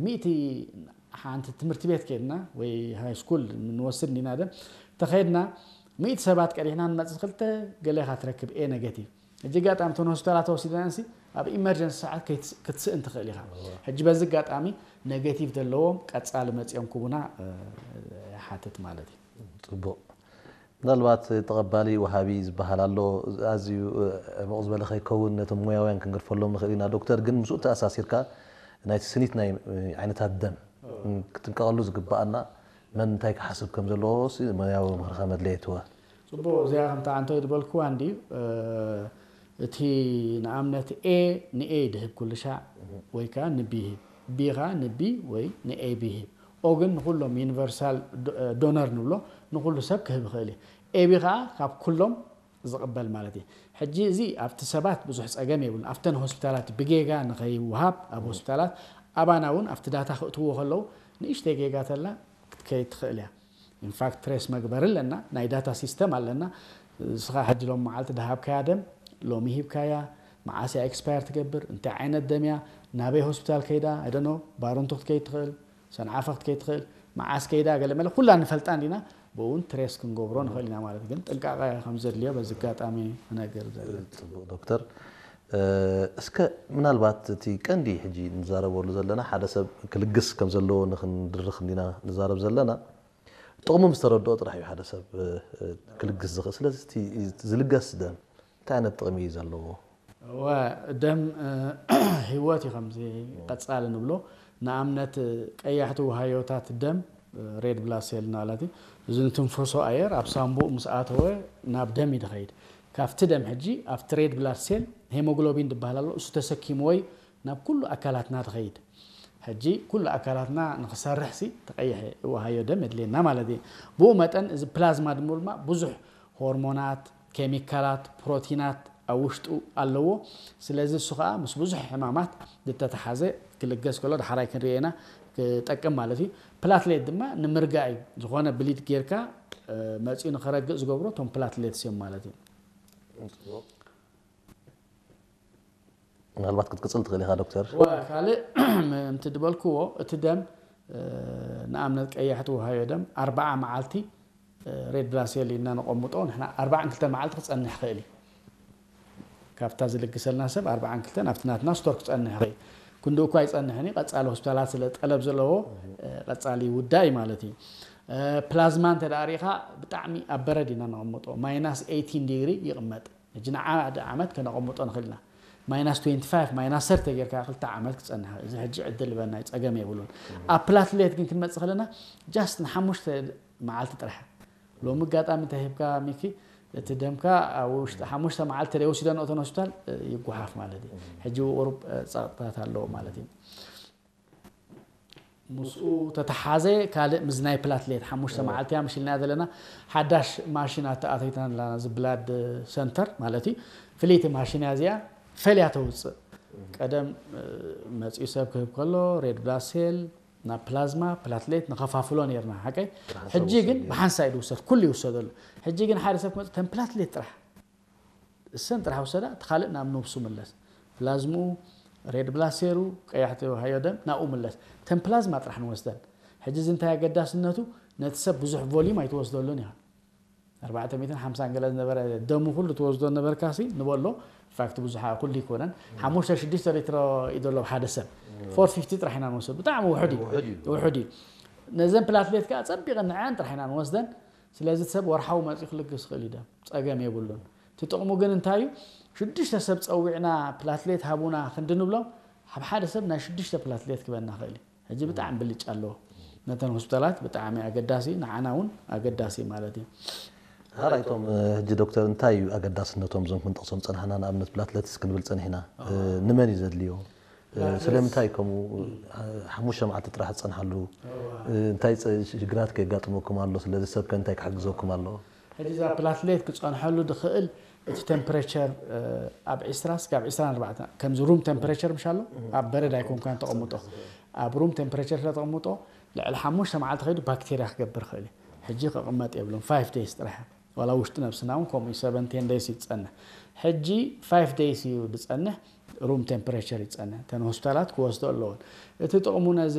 ሚእቲ ሓንቲ ትምህርቲ ቤት ከድና ወይ ሃይ ስኩል ንወስድ እንዲና ደም ተኸድና ሚእቲ ሰባት ቀዲሕና ንመጽእ ክልተ ገሌኻ ትረክብ ኤ ኔጌቲቭ። ሕጂ ኣጋጣሚ እተን ሆስፒታላት ወሲድና ንሲ ኣብ ኢመርጀንሲ ሰዓት ክትስእን ትኽእል ኢኻ። ሕጂ በዚ ኣጋጣሚ ኔጌቲቭ ዘለዎም ቀጻሊ መጺኦም ክቡና ይሓትት ማለት እዩ። ጽቡቕ። ምናልባት ተቐባሊ ወሃቢ ዝበሃል ኣሎ። ኣዝዩ ዕሙቕ ዝበለ ከይከውን ነቶም ሞያውያን ክንገድፈሎም ንኽእል ኢና። ዶክተር ግን ምስኡ ተኣሳሲርካ ናይቲ ስኒት ናይ ዓይነታት ደም ክትንቀቐሉ ዝግብኣና መን እንታይ ክሓስብ ከም ዘለዎ ሞያዊ ምኽርኻ መድለየትወ። ጽቡቕ። እዚኣ ከምታ ኣንቶይ ዝበልክዋ እንዲ እቲ ንኣብነት ኤ ንኤ ድህብ ኩሉ ሻዕ ወይ ከዓ ንቢ ይህብ፣ ቢ ከዓ ንቢ ወይ ንኤቢ ይህብ። ኦ ግን ንኩሎም ዩኒቨርሳል ዶነር ንብሎ ንኩሉ ሰብ ክህብ ይኽእል እዩ። ኤቢ ከዓ ካብ ኩሎም ዝቕበል ማለት እዩ። ሕጂ እዚ ኣብቲ ሰባት ብዙሕ ጸገም የብሉን። ኣብተን ሆስፒታላት ብጌጋ ንኸይወሃብ ኣብ ሆስፒታላት ኣባና እውን ኣብቲ ዳታ ክእትዎ ከለዉ ንእሽተይ ጌጋ ተላ ክትከይድ ትኽእል እያ። ኢንፋክት ትሬስ መግበሪ ኣለና፣ ናይ ዳታ ሲስተም ኣለና። ንስኻ ሕጂ ሎም መዓልቲ ድሃብካያ ደም ሎሚ ሂብካያ መዓስ እያ ኤክስፓየር ትገብር፣ እንታይ ዓይነት ደም እያ፣ ናበይ ሆስፒታል ከይዳ፣ ኣይደኖ ባሮንቱ ክትከይድ ትኽእል፣ ሰንዓፈ ክትከይድ ትኽእል፣ መዓስ ከይዳ ገለ መለ ኩላ ንፈልጣ እንዲና። ብእውን ትሬስ ክንገብሮ ንኽእል ኢና ማለት ግን ጥንቃቐ ከም ዘድልዮ በዚ ኣጋጣሚ ክነገር ዘለ። ጽቡቕ ዶክተር። እስከ ምናልባት እቲ ቀንዲ ሕጂ ንዛረበሉ ዘለና ሓደ ሰብ ክልግስ ከም ዘለዎ ንክንድርኽ እንዲና ንዛረብ ዘለና። ጥቕሙ ምስ ተረድኦ ጥራሕ እዩ ሓደ ሰብ ክልግስ ዝኽእል። ስለዚ እቲ ዝልገስ ደም እንታይ ዓይነት ጥቕሚ እዩ ዘለዎ? እወ፣ ደም ህይወት እዩ ከምዚ ቀጻሊ ንብሎ። ንኣብነት ቀያሕቲ ውሃዮታት ደም ሬድ ብላድ ሴል ማለት እዩ። እዚ ንትንፈሶ ኣየር ኣብ ሳንቡእ ምስ ኣተወ ናብ ደም እዩ ድኸይድ። ካብቲ ደም ሕጂ ኣብቲ ሬድ ብላድ ሴል ሄሞግሎቢን ዝበሃል ኣሎ፣ እሱ ተሰኪምዎ እዩ ናብ ኩሉ ኣካላትና ድኸይድ። ሕጂ ኩሉ ኣካላትና ንክሰርሕ ሲ ተቀይሐ ውሃዮ ደም የድልየና ማለት እዩ። ብኡ መጠን እዚ ፕላዝማ ድሞ ድማ ብዙሕ ሆርሞናት፣ ኬሚካላት፣ ፕሮቲናት ኣብ ውሽጡ ኣለዎ። ስለዚ እሱ ከዓ ምስ ብዙሕ ሕማማት ዝተተሓዘ ክልገስ ከሎ ዳሕራይ ክንሪኦ ኢና ክጠቅም ማለት እዩ። ፕላትሌት ድማ ንምርጋእ እዩ። ዝኾነ ብሊድ ጌርካ መፂኡ ንክረግእ ዝገብሮ እቶም ፕላትሌትስ እዮም ማለት እዩ። ምናልባት ክትቅፅል ትኽእል ኢኻ ዶክተር። ካልእ ምእንቲ ድበልክዎ እቲ ደም ንኣብነት ቀያሕቲ ውሃዮ ደም ኣርባዓ መዓልቲ ሬድ ብላድ ሴል ኢልና ነቐምጦ ንሕና ኣርባዓን ክልተን መዓልቲ ክፀንሕ ይኽእል እዩ። ካብታ ዝልግሰልና ሰብ ኣርባዓን ክልተን ኣብቲ ናትና ስቶር ክፀንሕ ይኽእል። ክንዲ እኳ ኣይፀንሕን እዩ፣ ቀፃሊ ሆስፒታላት ስለ ጠለብ ዘለዎ ቀፃሊ ይውዳእ እዩ ማለት እዩ። ፕላዝማ እንተ ደኣ ርኢኻ ብጣዕሚ ኣብ በረድ ኢና ነቐምጦ፣ ማይናስ ኤይቲን ዲግሪ ይቕመጥ። ሕጂ ንሓደ ዓመት ከነቐምጦ ንኽእል ኢና። ማይናስ ትዌንቲ ፋይቭ ማይናስ ሰርቲ ጌርካ ክልተ ዓመት ክጸንሕ እዚ ሕጂ ዕድል ልበና ጸገም የብሉን። ኣብ ፕላትሌት ግን ክንመጽእ ከለና ጃስት ንሓሙሽተ መዓልቲ ጥራሕ። ሎሚ ኣጋጣሚ እንታይ ሂብካ ሚኪ፣ እቲ ደምካ ኣብ ውሽጢ ሓሙሽተ መዓልቲ ተደይ ወሲደን እተን ሆስፒታል ይጓሓፍ ማለት እዩ። ሕጂ ቁሩብ ጸቕጥታት ኣለዎ ማለት እዩ። ምስኡ ተተሓዘ ካልእ ምዝናይ ፕላትሌት ሓሙሽተ መዓልቲ እያ መሽልናያ ዘለና። ሓዳሽ ማሽን ኣተኣተይትና ኣለና፣ እዚ ብላድ ሰንተር ማለት እዩ። ፍልይቲ ማሽን እያ እዚኣ፣ ፈልያ ተውፅእ። ቀደም መፅኡ ሰብ ክህብ ከሎ ሬድ ብላድ ሴል ናብ ፕላዝማ ፕላትሌት ንኸፋፍሎ ነርና ሓቀይ። ሕጂ ግን ብሓንሳ እዩ ዝውሰድ፣ ኩሉ ይውሰደሉ። ሕጂ ግን ሓደ ሰብ ክመፅእ ተን ፕላትሌት ጥራሕ እሰን ጥራሕ ውሰዳ፣ እቲ ካልእ ናብ ነብሱ ምለስ። ፕላዝምኡ፣ ሬድ ብላድ ሴሉ፣ ቀያሕቲ ሃዮ ደም ናብኡ ምለስ። ተን ፕላዝማ ጥራሕ ንወስደን። ሕጂ እዚ እንታይ ኣገዳስነቱ፣ ነቲ ሰብ ብዙሕ ቮሊዩም ኣይትወስደሉን ኢኻ። ኣርባዕተ ሚእትን ሓምሳን ገለ ዝነበረ ደሙ ኩሉ ትወስዶ ነበርካሲ ንበሎ። ኢንፋክት ብዙሓ ኩሉ ይኮነን። ሓሙሽተ ሽዱሽተ ሊትሮ እዩ ዘሎ ሓደ ሰብ። ፎር ፊፍቲ ጥራሕ ኢና ንወስዶ። ብጣዕሚ ውሑድ እዩ። ውሑድ እዩ። ነዘን ፕላትሌት ከዓ ጸቢቐን ንዐን ጥራሕ ኢና ንወስደን። ስለዚ ሰብ ወርሓዊ መፂኡ ክልግስ ይኽእል እዩ ደም፣ ጸገም የብሉን። እቲ ጥቕሙ ግን እንታይ እዩ? ሽዱሽተ ሰብ ጸዊዕና ፕላትሌት ሃቡና ክንዲ ንብሎም፣ ኣብ ሓደ ሰብ ናይ ሽዱሽተ ፕላትሌት ክበና ይኽእል እዩ። ሕጂ ብጣዕሚ ብልጫ ኣለዎ። ነተን ሆስፒታላት ብጣዕሚ ኣገዳሲ፣ ንዓና እውን ኣገዳሲ ማለት እዩ። ሓራይቶም ሕጂ ዶክተር እንታይ እዩ ኣገዳስነቶም እዞም ክንጠቕሶም ጸናሕና? ንኣብነት ፕላትሌትስ ክንብል ጸኒሕና። ንመን እዩ ዘድልዮ? ስለምንታይ ከምኡ ሓሙሽተ መዓልቲ ጥራሕ ትጸንሓሉ? እንታይ ሽግራት ከየጋጥመኩም ኣሎ? ስለዚ ሰብ ከ እንታይ ክሕግዘኩም ኣለዎ? ሕጂ እዛ ፕላትሌት ክጸንሐሉ ድኽእል እቲ ቴምፕሬቸር ኣብ ዒስራ ስጋብ ዒስራን ኣርባዕተን ከምዚ ሩም ቴምፕሬቸር ምሽ ኣሎ፣ ኣብ በረድ ኣይኮንካን ተቐምጦ። ኣብ ሩም ቴምፕሬቸር ስለ ተቐምጦ ልዕሊ ሓሙሽተ መዓልቲ ከይዱ ባክቴርያ ክገብር ይኽእል እዩ። ሕጂ ክቕመጥ የብሉን፣ ፋይቭ ደይስ ጥራሕ። ዋላ ውሽጢ ነብስና እውን ከምኡ እዩ፣ ሰቨን ቴን ደይስ እዩ ዝጸንሕ። ሕጂ ፋይቭ ደይስ እዩ ዝጸንሕ። room temperature ይጸነ እተን ሆስፒታላት ክወስዶ ኣለዎን። እቲ ጥቕሙ ነዚ